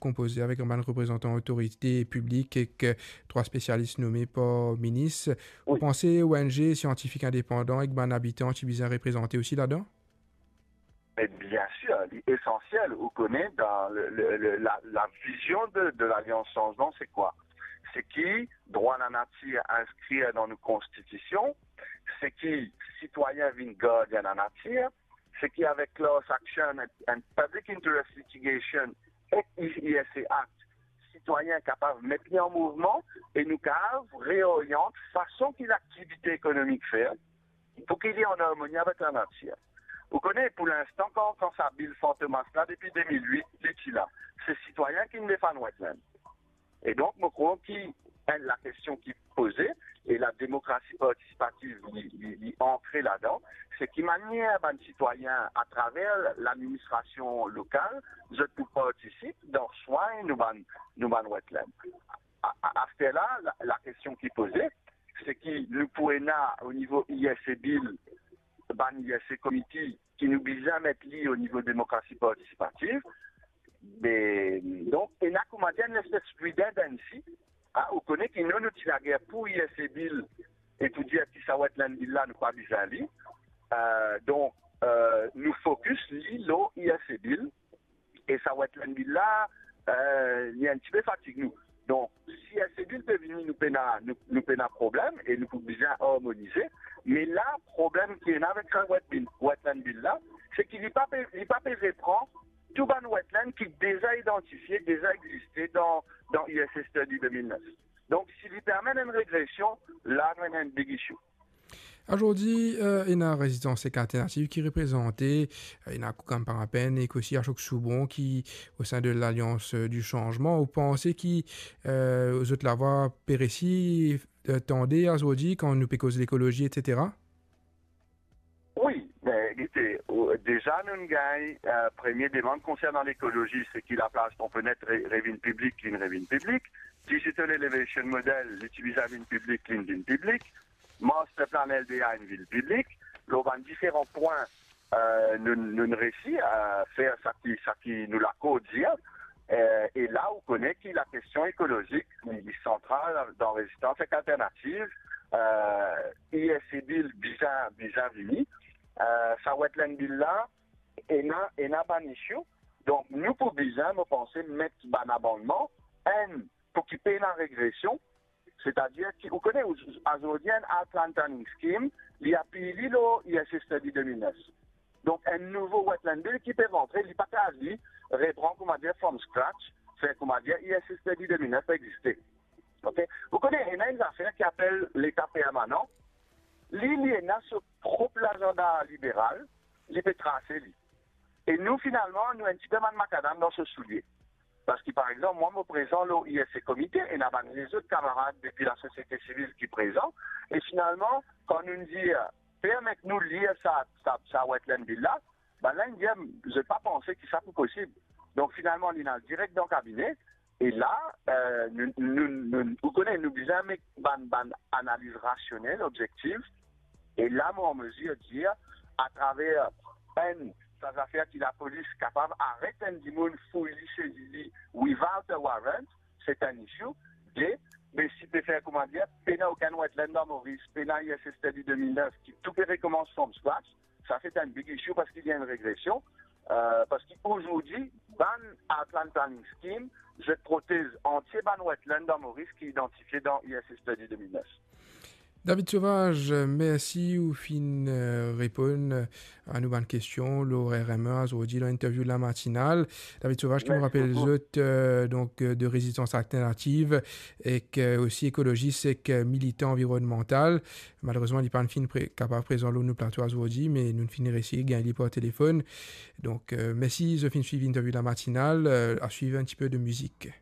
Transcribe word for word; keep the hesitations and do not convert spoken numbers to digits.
konpoze avek bann reprezantan otorite piblik ek, eh, trwa spesialis nome par minis. Ou panse O N G, siantifik indepandan ek bann abitan ti bizin reprezante osi ladan? Me bien sir, li esansiel. Ou kone, dan le, le, le, la, la vizion de, de Lalians Sanzman, se kwa? Se ki drwa lanatir inskrir dan nou konstitision, se ki sitwayin vinn gardien lanatir, se ki avek class action and, and public interest litigation ek I S A Act, sitwayin kapav met li an mouvman e nou kapav reoryant fason ki laktivite ekonomik fer, pou ki li an armoni avek lanatir. Ou kone, pou linstan, kan, kan sa bil Fantomas la, depi de mil wit, li ti la, se sitwayin ki inn defann wetland. E donk, mo krwar ki, enn, lakestion ki poze, e la demokrasi partisipativ, li, li, li antre ladan, se ki manier bann sitwayin, atraver ladministrasion lokal, zot pou partisip dan swagn nou bann, nou bann wetland. A, a, aster la, la, lakestion ki poze, se ki nou pou ena o nivo I S A Bill, bann I S A Committee, ki nou bizin met li o nivo demokrasi partisipativ. Me, donk, ena koumadir enn lespes redundancy, a, ou kone ki nou, nou ti lager pou I S A Bill, e pou dir ki sa Wetland Bill la, nou pa bizin li. Eh, donk, eh, nou fokis li lor I S A Bill, e sa Wetland Bill la, eh, li enn tipe fatig nou. Donk, si I S A Bill pe vini, nou pena, nou, nou pena problem e nou pou bizin armonize. Me la, problem ki ena avek sa Wet-, Wetland Bill la, se ki li pa pe, li pa pe repran tou bann wetland ki deza idantifie, deza existe dan, dan I S A Study de mil nef. Donk, si li pe amenn enn regresion, la nou ena enn big issue. Azordi, eh, ena Rezistans ek Alternativ ki reprezante, eh, ena Koukam Parapenn ek osi Ashok Soubron ki o sein de Lalians, eh, di Sanzman. Ou panse ki, eh, zot lavwa pe resi, eh, tande azordi kan nou pe koz lekolozi, et cetera? Wi, me gete, ou, deza nou gagn, eh, premie demann konsernan lekolozi, se ki laplas Tromplenette re-, revinn piblik, li revinn piblik. Digital Elevation Model, li ti bizin vinn piblik, li vinn piblik. Master Plan L D A inn vinn piblik. Lor bann diferan pwin, eh, nou, nou resi, eh, fer sa ki, sa ki nou lakor dir. Eh, e la, ou kone ki lakestion ekolozik, li, li santral dan Rezistans ek Alternativ. Eh, I S A Bill bizin, bizin vini. Eh, sa Wetland Bill la, ena, ena bann issue. Donk, nou pou bizin, mo panse, met bann amannman, enn, pou ki pena regresion, setadir ki, ou kone, ou, azordi, enn Outland Planning Scheme, li apiy li lor I S A Study de mil nef. Donk, enn nouvo Wetland Bill ki pe rantre, li pa kapav li repran, koumadir, from scratch, fer, koumadir, I S A Study de mil nef pa existe. Ok? Ou kone, ena enn zafer ki apel leta permanan. Li, li ena so prop lazanda liberal, li pe trase li. E nou, finalman, nou enn tipe bann makadam dan so soulie. Parski, par exanp, mwa, mo prezan lor I S A Committee, ena bann lezot kamarad depi lasosiete sivil ki prezan, e finalman, kan nou dir, "Permet nou lir sa, sa, sa Wetland Bill la," bannla inn dir, "Zot pa panse ki sa pou posib." Donk, finalman, li al direk dan kabine, e la, eh, nou, nou, nou, ou kone, nou bizin met bann, bann analiz rasionel, objektif, e la, mo an mezir dir, atraver enn, sa zafer ki lapolis kapav aret enn dimoun fouy li, sezi li, without a warrant, se enn issue. De, me si pe fer, koumadir, pena okenn wetland dan Moris, pena I S A Study de mil nef, ki tou pe rekomans from scratch, sa se enn big issue parski li enn regresion, eh, parski azordi, bann Outland Planning Scheme, zot protez antie bann wetland dan Moris ki idantifie dan I S A Study de mil nef. David Sauvage, mersi ou finn, eh, reponn, eh, a nou bann kestion lor R M E azordi, dan interview La Matinale. David Sauvage, ki mo rapel zot, eh, donk, eh, de Rezistans Alternativ, ek, eh, osi ekolozis ek, eh, militan anvironmantal. Malerezman, li pa'nn finn pre-, kapav prezan lor nou plato azordi, me nou finn resi gagn li par telefonn. Donk, eh, mersi zot finn swiv interview La Matinale, eh, a swiv enn tipe de mizik.